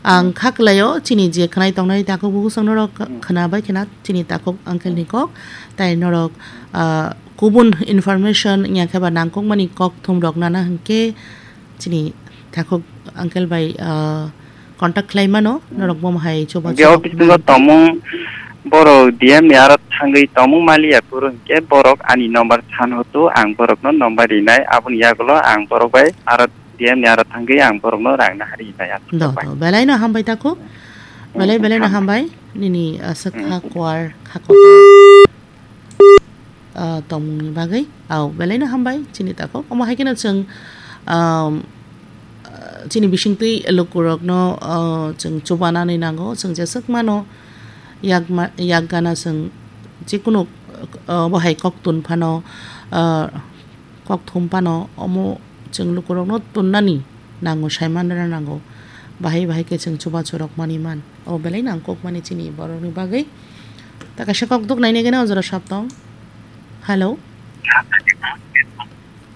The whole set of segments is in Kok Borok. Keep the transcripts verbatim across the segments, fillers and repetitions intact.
Ang kha kwlaio, chini je khwnai tongnai takhuk bukhuk chwng norok khwna bai khwna chini takhuk uncle ni kok, tai norok, ah, kubun information wngya khe ba nangkukmani kok thum rok nana hwnkhe chini takhuk uncle bai, ah, contact khlai mano, norok bo hai chuba Hwnkhe o chuba bisingo khwna. Tongmung borok D M ni aro thangwi tongmung maliya phuru hwnkhe borok ani number san hotu ang borokno number rinai, aboni yagulo ang borok bai aro D M ni aro thangwi ang borokno rang nahari hinai Do, aswk bai. Do, belai no hambai takhuk. Hmm, belai, belai no hambai. Hambai. Nini aswk Hmm. kha kwar kha kwar. Ah, tongmung ni bagwi. Au, belai no hambai chini takhuk. Omo hai kheno chwng, um, ah, chini bisingtwi lukurokno, ah, chwng chubanani nango. Chwng jeswk mano yak ma-, yak gana chwng jikunu, ah, bo hai kok tun phano, ah, Kok thum phano omo chwng lukurokno tunnani nango, saimanrwna nango. Bahai bahai khe chwng chubachu rok manwi man. O belai nangkukmani chini borokni bagwi. Ta kaisa kok duk nainai gana o jora sap tong. Hello?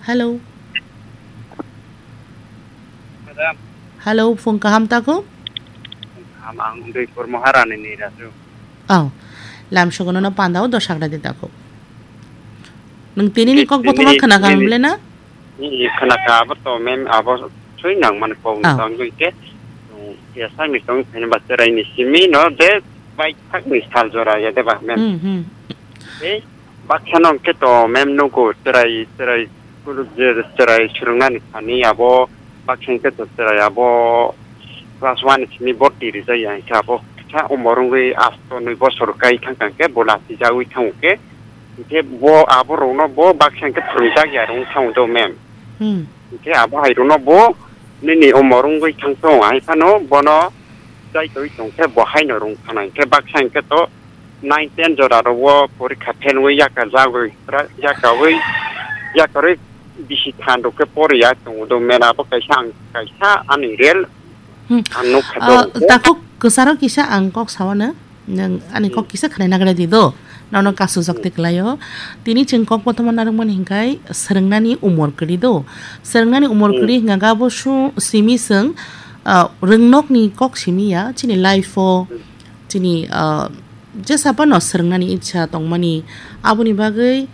Hello? Madam. Hello, phung kaham tako? Kaham, ang Udaipur Maharani ni Raju. Oh, lam sogono no pandao dosak radi tako. Nwng tini ni kok bothoma khna kha nini, ble na? Nini khna kha abo to mem abo sui nang mani kok Oh. Tang dui ke. Ya sai mi tong thani ba cherai ni simi no de bai thak ni sal jora ya de ba mem. Hmm, hmm. Eh, baksa no ke to mem no ko cherai, cherai, kulu je cherai surungnani thani abo baksa ke to cherai abo class one ni simi borti rijak ya ke abo kisa umor wngwi asto nui bosor kai thang thang ke bo lati jagwi thango ke. Hingke bo abo rokno bo baksa hingke phwrwngjak ya rwng thang do mem. Hmm. Hingke abo hai rokno bo nini umor wngwi thang thung hai phano bono chai twi tong khe bo haino rwng thana hingke baksa hingke to nine ten jora rok o porikha fail wngwi yaka jagwi ra-, yaka wi yakarwi bisi than rok khe poriya tongo do mem abo kaisa ang kaisa ani real Hmm. ang nukha Ah, do. Takhuk kwcharo kisa ang kok sao na. Nwng ani kok kisa khwnai nagra di do. Nono kasujak te kwlaio. Tini chwng kok bothoma narwkmani hingkhai swrwngnani umor kwrwi do. Swrwngnani umor kwrwi hingkha khe abo su-, simi chwng, ah, rwngnokni kok simi ya. Chini life o, chini, ah, jesa phano swrwngnani icha tongmani. Aboni bagwi,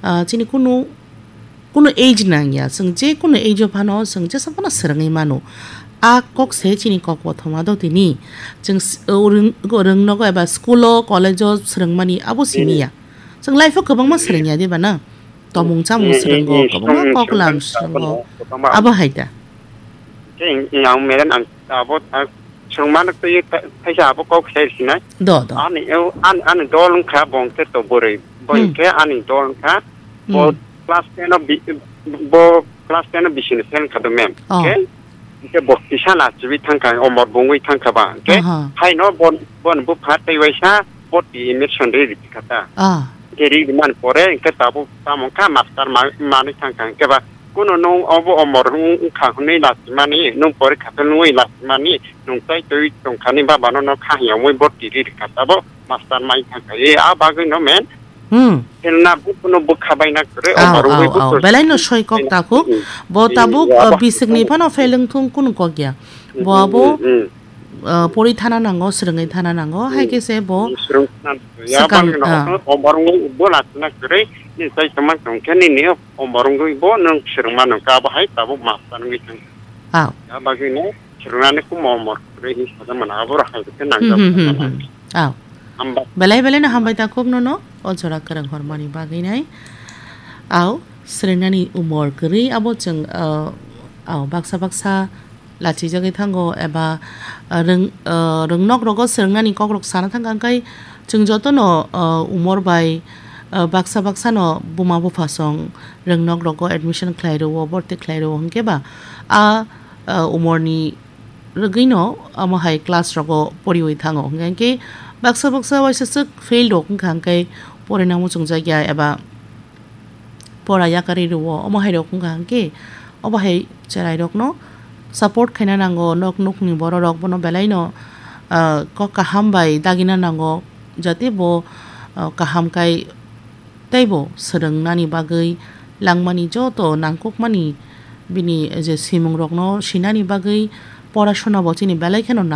ah, chini kunu Kunu age nangya, chwng je kunu age o phano chwng jesa phano swrwngwi mano. A kok se chini kok kothoma do tini. Chwng s-, o rwng-, rwngnogo eba school o, college o swrwngmani abo simi ya. Chwng life o kwbangma swrwngya diba na? Tomung chamung swrwngo, kwbangma kok lam swrwngo. Abo hai da. Ang meren ang abo Chwng mano twi tha-, thaisa abo kok sai sinai. Do, do. Ani, ani, ani dol wngkha bongke to bwrwi. Bo Hmm. Hingke ani dol wngkha. Bo Hmm. Class ten o bi-, bo class ten o bisini fail wngkha do mem. Oh. Hingke, hingke bo kisa nachibi thangkha, omor bungwi thangkha ba. Hingke Aha. Haino bon, bon bupha tei waisa bo ti emission ri ri kha ta. Ah. Hingke ri ri man pore hingke tabuk tamo wngkha master ma-, manwi thangkha hingke ba Kuno nwng obo omor wng-, wngkha hwnwi lachimani, nwng porikha khe nungwi lachimani, nwng tai twi tongkhani babano no kha hwnwi bo tiri rikha tabok master mai thangkha. E, a bagwi no men. Hmm. Khe na bukuno bwkha baina kwrwi, Au, omor wngwi au, au. Bukur Belai no soi kok takhuk. Hmm. Bo tabuk, Hmm, uh, abo. Bisikni phano fail wngthung kunu kok ya. Hmm, Bo abo hmm, hmm. uh, pori thana nango, swrwngwi thana nango, hai khe se bo Hmm, swrwng thana nango. Ya swkang, bangno ah. Omor wngwi bo lachina kwrwi, ni tai tongma tongkhe nini omor wngwi bo nwng swrwngma nungkha, abo hai tabuk master wngwi thang. Ah. Ya bagwi no swrwngnani kumo omor kwrwi hinwi sajak mano, abo rok hai khe Hmm, nangjak hmm, hmm, mano. Hmm. Ah. Hamba. Belai belai no hambai ta khuk nono, o jora kwrwng hormani bagwi nai. Au, swrwngnani umor kwrwi abo chwng, uh, au, baksa baksa lachijagwi thango eba, uh, rwng-, uh, rwngnok rogo swrwngnani kokrok sana thangkha, hwnkhe chwng jotono, uh, umor bai, uh, baksa baksano buma buphasong rwngnok rogo admission khlai rwo, borti khlai rwo, hwnkhe ba a, uh, umorni rwgwino omo hai class rogo poriwi thango, hwnkhe baksa baksa waisa swk fail rok wngkha, hwnkhe porinani muchungjakya eba pora yakarwi rwo, omo hai rok wngkha hwnkhe obo hai cherai rokno support khaina nango, nok nukni borok rok bono belai no, ah, kok kaham bai dagina nango, jate bo, ah, kaham kai teibo swrwngnani bagwi langmani joto nangkukmani bini je simung rokno sinani bagwi pora sona bo chini belai kheno nang.